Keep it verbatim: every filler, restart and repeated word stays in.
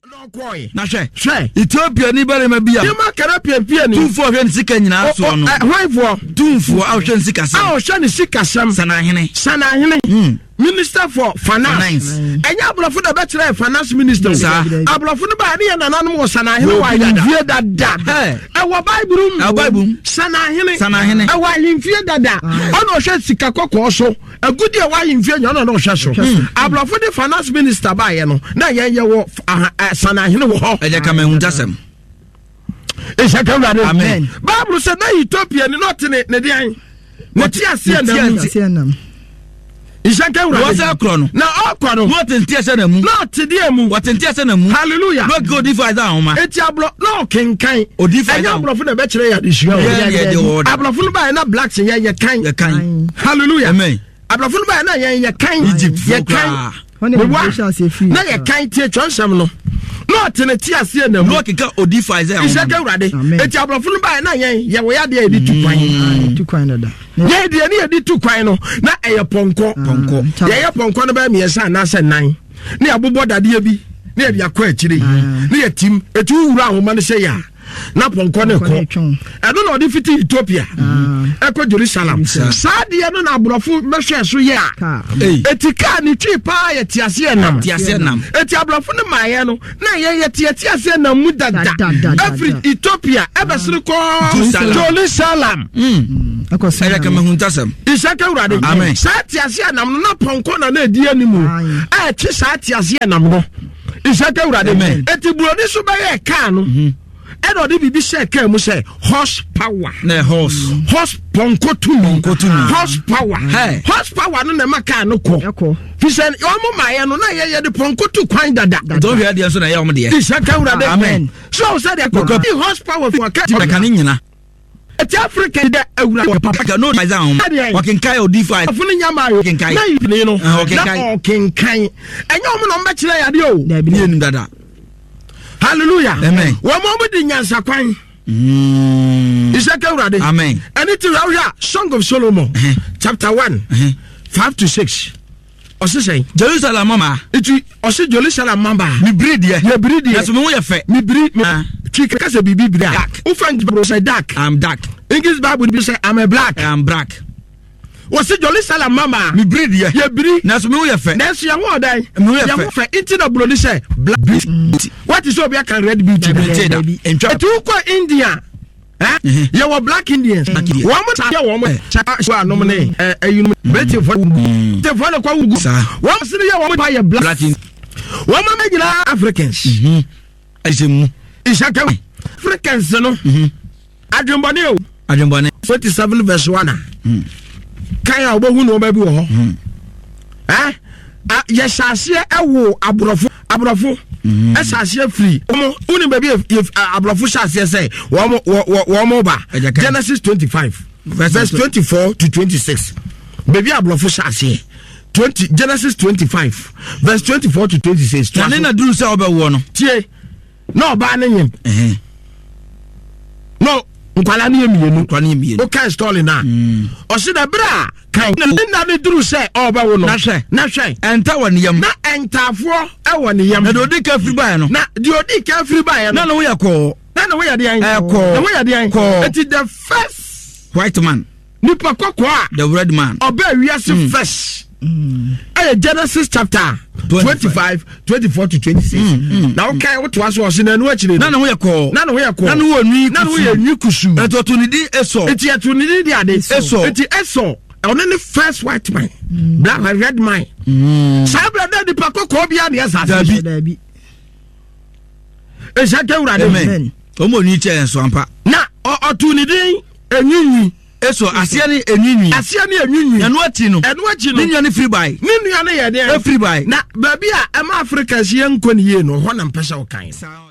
Na hwɛ, hwɛ, Ethiopia ni barima bi a yɛma kara piapia ni tumfoɔ a ɔhwɛ ne sika nyinaa soɔ no, hwanfoɔ? Tumfoɔ a ɔhwɛ ne sika a sɛm, ɔhwɛ ne sikasɛm, Sanahene. Sanahene, Mm. Minister for Finance. Finance. Ɛnyɛ aborɔfo na bɛkyerɛ finance minister o. Saa. Aborɔfo no baa ne yɛ nananom wɔ sanahene wɔ Wɔ dada. ahemfie dada. Hey. Ɛwɔ Bible mu. Ɛwɔ Bible mu. Sanahene. Sanahene. Ɛwɔ ahemfie dada. Ɔna ɔhwɛ sika kɔkɔɔ so, agudi a ɛwɔ ahemfie nya, ɔna na ɔhwɛ so. Aborɔfo de finance minister baayɛ no, na yɛn yɛ wɔ aha- ɛ, sanahene wɔ hɔ. Ɛgya kama ehuntasɛm. Ɛhyɛ ka Wurade. Amen. Bible sɛ na Ethiopia ni na ɔte ne ne deɛn, ne te aseɛ nam mu. Aseɛ nam. Nhyɛ ka Wurade. Wɔsɛ korɔ no. Na ɔkɔ no, Na ɔte nte aseɛ na mu. na ɔte deɛ mu? Wɔte nte aseɛ na mu. Hallelujah. Na ɔkeka odiifo Isaiah nhoma. Eti aborɔ na ɔkenkan. Odiifo Ɛnyɛ Isaiah. aborɔfo na ɛbɛkyerɛ yɛ adesua o. Yɛ yɛ deɛ wɔ da. Aborɔfo no baayɛ na blacks yɛ yɛ kan. Yɛ kan. Hallelujah. Amen. Aborɔfo no baayɛ na yɛn yɛ kan. Egypt foɔ yɛ kan. koraa. Hɔ na Mewa. ɛbi hyɛ aseɛ firi. Na yɛ kan tie twɛnsɛm no, na ɔte ne te aseɛ na mu. Na ɔkeka odiifo Isaiah Nhyɛ nhoma. ka Awurade. Amen. Eti aborɔfo no baayɛ na yɛn yɛwɔ yɛ adeɛ a yɛde tu kwan. Ah, tu kwan dada. Yɛn deɛ ne yɛde tu kwan no na ɛyɛ pɔnkɔ. Pɔnkɔ. Ah, Yɛyɛ pɔnkɔ no bɛyɛ mmiɛnsa anaasɛ nan, ne yɛabobɔ dadeɛ bi ne yɛde akɔ akyire ne yɛtim ɛti wowura ahoma no sɛ yɛ a, na pɔnkɔ no Pɔnkɔ no kɔ. retwɛn. Ɛno na ɔde fiti Ethiopia ɛkɔ Jerusalem. Saa deɛ no na aborɔfo bɛhwɛ so yɛ a Kaa. Ei. ɛti kaa ne twi paa yɛ teaseɛ nam. Te aseɛ nam. Ɛti aborɔfo no maayɛ no na yɛyɛ teaseɛ nam mu dada. Dada, dada, ɛfiri Ethiopia ɛbɛsere kɔ Jerusalem. Jerusalem. Mm. Ɛkɔ sɛ Ɛgya kama ehuntasɛm. Isaka Awurade. Amen. Saa teaseɛ nam no, na pɔnkɔ na na ɛdi anim Aye. a ɛkye saa teaseɛ nam no. Isaka Awurade. Amen. Eti buroni so bɛyɛ kaa no, ɛna ɔde biribi hyɛ kaa mu sɛ horse power. Na ɛ horse. Horse, pɔnkɔ tumi. Pɔnkɔ tumi. Horse power. Hey. Horse power no na ɛma kaa no kɔ. Ɛkɔ. Fi sɛ ɔmo maayɛ no, na yɛyɛ de pɔnkɔ tu kwan dada. Nti ɔhwɛ adeɛ nso na ɛyɛ ɔmo deɛ. Isaka Awurade. Amen. So sɛ deɛ kɔ horse power fi wɔn Ɛka ka ne nyina. Ɛti Africa dɛ Awurade papa. Ɔka no Isaiah nhoma. Adeɛ. Ɔkenkan odiifo Isaiah. Afo no nya maa yo. Ɔkenkan. Na yi no Ah, ɔkenkan. na ɔkenkan. Ɛnyɛ ɔmo na ɔmo bɛkyerɛ yɛ adeɛ o. Dabi. Ne yɛnum dada. Hallelujah. Amen. Wɔn mo ɔmo di nyansa kwan. Mm. Isaka Awurade. Amen. Ɛne ti wura a Song of Solomon Ɛhɛn. chapter one Ɛhɛn. five to six, ɔsi sɛn? Jerusalem mama. Eti ɔsi Jerusalem mama. Mibiri deɛ. Yɛbiri deɛ. Nanso me ho yɛ fɛ. Mibiri mi Ah. twi kasa biribi biri a Dark. wofa Bible sɛ dark. I'm dark. English Bible bi sɛ I'm a black. I'm black. Wɔsi Jerusalem mama. Mibiri deɛ. Yɛbiri. Nanso me ho yɛ fɛ. Nanso yɛn ho ɔdan. Me ho yɛ yɛn ho fɛ. fɛ nti na buroni sɛ black beauty. Wati sɛ obi aka red beauty? Dabi. Nte da. Dabi. Ntwa. Eti wokɔ India, eh? Mhm. Yɛwɔ black Indians. Black Indians. Wɔn mo ta yɛ wɔn mo kyɛ anom ne ɛ ɛyinom Britainfoɔ, Britainfoɔ ne kɔ wugu. Saa. Wɔn sini yɛ wɔn pa yɛ black. Black Indians. Wɔn mo nyinaa Africans. Mhm. Ɛhyɛ mu. Ìṣàkẹ́ Africans no adwembɔne o. Adwembɔne. Twenty seven verse one a kan a wobɛhu nneɛma bi wɔ hɔ. Ɛ a yɛhyɛ aseɛ ɛwo aborɔfo aborɔfo ɛhyɛ aseɛ firi wɔn wonim baabi yɛ yɛ aborɔfo hyɛ aseɛ sɛ wɔn wɔ wɔ wɔn ba. Ɛgya kan. Genesis twenty five verse twenty four to twenty six, baabi aborɔfo hyɛ aseɛ twenty Genesis twenty five verse twenty four to twenty six. Na ne na duru sɛ ɔbɛwoɔ no. Tie, na ɔbaa ne nyim Ɛhɛn. na nkwalaa ne yɛ mmienu. Nkwa ne yɛ mmienu. Wokan story no a, ɔse na berɛ a kan ne nna ne duru sɛ ɔbɛwo no. Na hwɛ. Na hwɛ. Ɛnta wɔ ne yam. Na ɛntaafoɔ ɛwɔ ne yam. Na deɛ odi ka firi baeɛ no. Na deɛ odi ka firi baeɛ Na no, ne ho yɛ kɔɔ. Na ne ho yɛ deɛn? Ɛkɔɔ. Ne ho yɛ deɛn? Kɔɔ. Eti the first White man. nipa kɔkɔɔ a The red man. ɔbaa wiase first ɛyɛ Genesis chapter twenty five twenty four to twenty six. Na wokae wotoa so, ɔse na ɛno akyire Na no, ne ho yɛ kɔɔ. Na ne ho yɛ kɔɔ. Na ne ho yɛ nwi. Na ne ho yɛ nwi kusuu. Ɛnti ɔto ne din Esau. Eti ɛto ne din de ade? Esau. Eti Esau, ɔno ne first white man, black and red man. Saa abirɛ dɛ nipa kɔkɔɔ bi a ne ɛsɛ ase. Dabi. Dabi. Ehyɛ kɛ Wurade. Amen. Ɔmo onwi kyɛ nso ampa. Na ɔ- ɔto ne din enwinwi. Esau aseɛ ne enwinwi. Aseɛ ne enwinwi. Ɛno akyi no. Ɛno akyi Ne no, nua ne firi bae. Ne nua no yɛ deɛ? Efiri bae. Na baabi a ɛma Africa si yɛ nkɔ ne yie no, hɔ na mpɛ sɛ ɔkan. Saa.